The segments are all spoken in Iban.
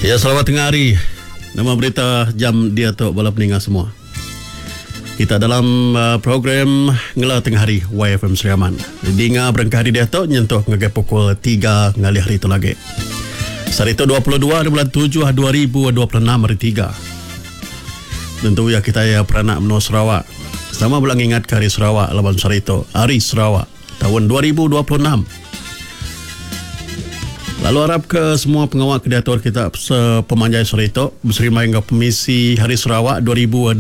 Ya selamat tengah hari. Nama berita jam diatu bala peninga semua. Kita dalam uh, program ngela tengah hari YFM Sri Aman. Dinga berengkah hari diatu nyentuh ngagai pukul 3 ngalih hari tu lagi. Sehari tu 22 hari bulan 7 2026 hari 3. Tentu ya kita ya peranak menua Sarawak. Sama bela ngingat ke hari Sarawak laban sehari tu hari Sarawak taun 2026. Lalu arap ke semua pengawa ke diatur kita sepemanjai sehari tu beserimbai enggau pemisi Hari Sarawak 2026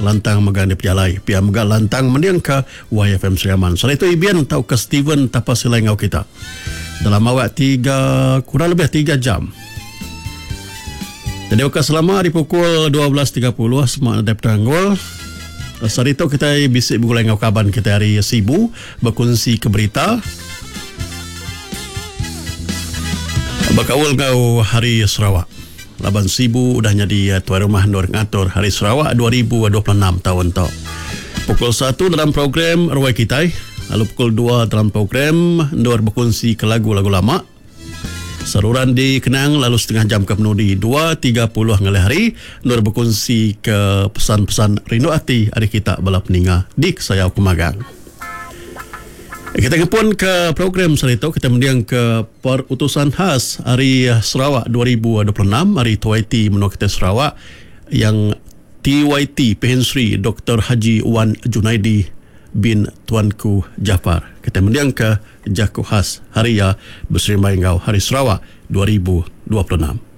lantang mega dipejalai. Pia mega lantang mendingka YFM Sri Aman. Sehari tu Ibin tauka Steven Tapa Silai enggau kita dalam awak tiga kurang lebih tiga jam. Jadi baka selama di pukul 12.30 semak nadai penanggul. Sehari tu kitai bisi begulai enggau kaban kitai ari Sibu bekunsi ke berita bekaul enggau Hari Sarawak. Laban Sibu udah nyadi tuai rumah endur ngatur Hari Sarawak 2026 taun tu. Pukul satu dalam program Ruai Kitai lalu pukul dua dalam program endur bekunsi ke lagu-lagu lama. Seruran dikenang lalu setengah jam ke penudi 2.30 ngalih hari endur bekunsi ke pesan-pesan rindu ati ari kita bala peninga di Kesayau Kemagang. Kita ngepun ke program sehari tu kita mending ke perutusan khas ari Sarawak 2026 ari TYT menua kita Sarawak yang TYT Pehin Sri Doktor Haji Wan Junaidi bin Tuanku Jaafar. Kita mending ke Jaku khas hari iya beserimbai enggau Hari Sarawak 2026.